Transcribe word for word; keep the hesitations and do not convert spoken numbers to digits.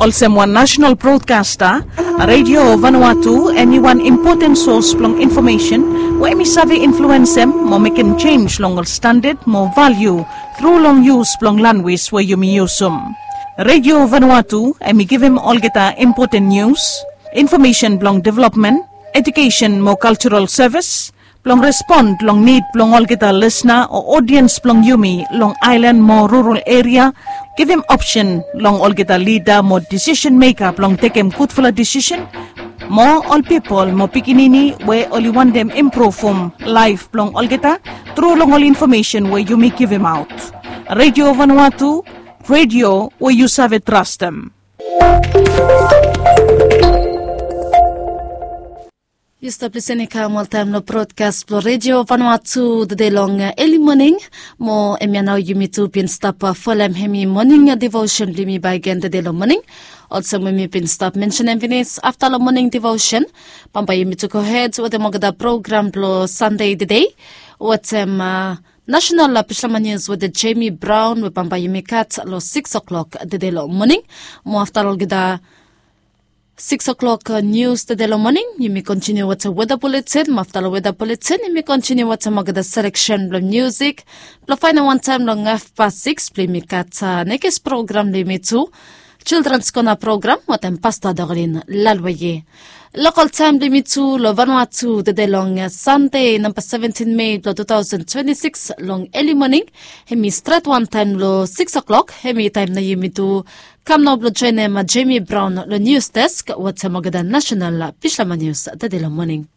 Olsem wan nasenal brodkasta, Radio Vanuatu em i wan impoten sos blong infomesen we em i save influensem mo mekem jenis long ol standad mo valiu tru long yus blong lanwis we yumi yusum. Radio Vanuatu em i givim olgeta impoten nius, infomesen blong developmen, ejukesen mo kaltural sevis, blong respon long nid blong olgeta lisna o odiens blong yumi long aelan mo rural eria, givim opsen long olgeta lida mo disisen meka blong tekem gudfala disisen, mo ol pipol mo pikinini we oli wantem impruvum laef blong olgeta tru long ol infomesen we yumi givimaot. Radio Vanuatu, radio we yu save trastem. Yu stap lisin i kam oltaem long brodkas blong Radio Vanuatu tede long eli moning. Mo hemia nao yumi tu bin stap folem hemi moning devosen blong yumi bakegen tede long moning. Olsem we mi bin stap mensenem finis, afta long moning devosen bambae yumi tu gohed wetem olgeta program blong Sande tede wetem nasenal Pishlama Nius wetem Jemi Braon we bambae yumi gat long sikis oklok tede long moning. Mo afta long olgeta sikis oklok nius tede long moning, yumi kontiniu wetem weda buletin. Mo afta long weda buletin yumi kontiniu wetem olgeta seleksen blong miusik blong faenem wantaem long hafpas sikis blong yumi gat nekis program blong yumi tu, Childrens Kona program wetem Pasta Doklin Lalwaye. Lokol taem blong yumi tu long Vanuatu tede long Sande namba seventin Mei blong tu taosen twenti sikis long eli moning, hemi stret wantaem long sikis oklok. Hemi taem nao yumi tu kam nao blong joenem Jemi Braon long nius desk wetem olgeta nasenal Pishlama Nius tede long moning.